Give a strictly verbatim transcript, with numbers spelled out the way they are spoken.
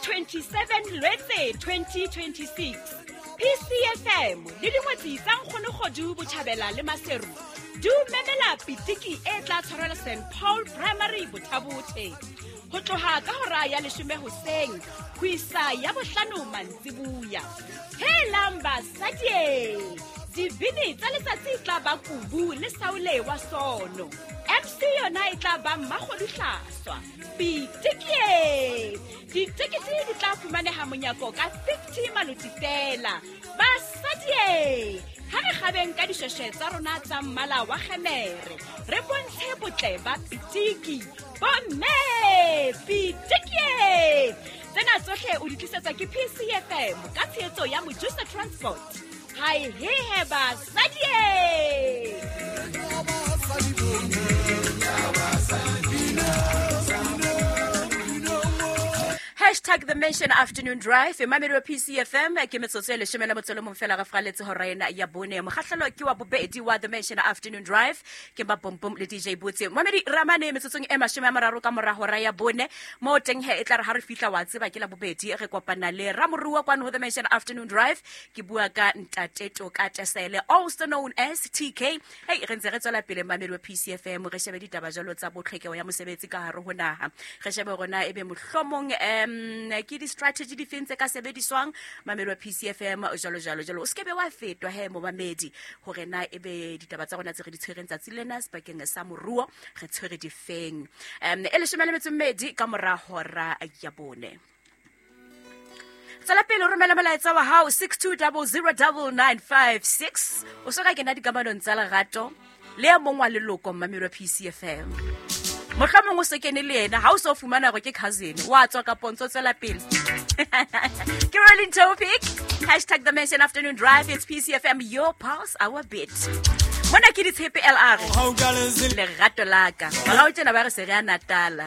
twenty-seven Lwetse twenty twenty-six, P C F M le dingwetsi tsa Nkgonokgodu Botjhabela le Maseru di o memela pitiki e tla tshwarelwa Saint Paul Primary, Bothabothe, ho tloha ka hora ya leshome hoseng ho isa ya bohlano mantsibuya. Helang basadie, dibini tsa letsatsi e tla ba Kubu le Saule wa Sono. M C yona e tla ba Mmakgoduhlaswa. Pitikie, ditekete di tla fumaneha monyako ka fifty maloti fela. Basadie, ha re kgabeng ka dishweshwe tsa rona tsa mmala wa kgemere, re bontshe botle ba pitiki. Bomme, pitikie! Tsena tsohle o di tlisetswa ke P C F M ka tshehetso ya Mojusa Transport. Hai hehe basadie! Hashtag the Mansion Afternoon Drive, mamedi wa P C F M. Ke metsotso e leshome le motso le mong fela re fraletse hora ena ya bone. Mokgahlelo ke wa bobedi wa The Mansion Afternoon Drive, ke ba Pompom le D J Botse. Mamedi, ramane metsotsong e mashome a mararo ka mora hora ya bone mo teng he e tla re ha re fihla, wa tseba ke la bobedi, re kopana le ramorua kwano ho The Mansion Afternoon Drive. Ke bua ka Ntate Toka Tesele, also known as T K. Hey, re ntse re tswela pele, mamedi wa P C F M, re shebe ditaba jalo tsa botlhokeho ya mosebetsi ka hare ho naha. Re shebe hore na ebe mohlomong um ke di-strategy di feng tse ka sebediswang, mamedi wa P C F M, jalo jalo jalo. O se kebe wa fetwa he, momamedi, hore na ebe ditaba tsa rona tse re di tshwereng tsatsi lena sebakeng sa moruo re tshwere difeng. um e leshome le metso e mmedi ka mora hora ya bone. Tswela pele o romela molaetsa wa hao six two zero zero nine nine five six. O so ka kena dikamanong tsa lerato le e mong wa leloko, mmamedi wa P C F M? Mohlomong o se kene le yena, ha o so fumana hore ke cousin wa tswa kapo ntso tswela pele. Ke rolling topic, hashtag the Mansion Afternoon Drive. It's P C F M, your pulse, our beat. Mona ke Ditshepe L R, Lerato Laka. Morao tjena ba re se re a Natala.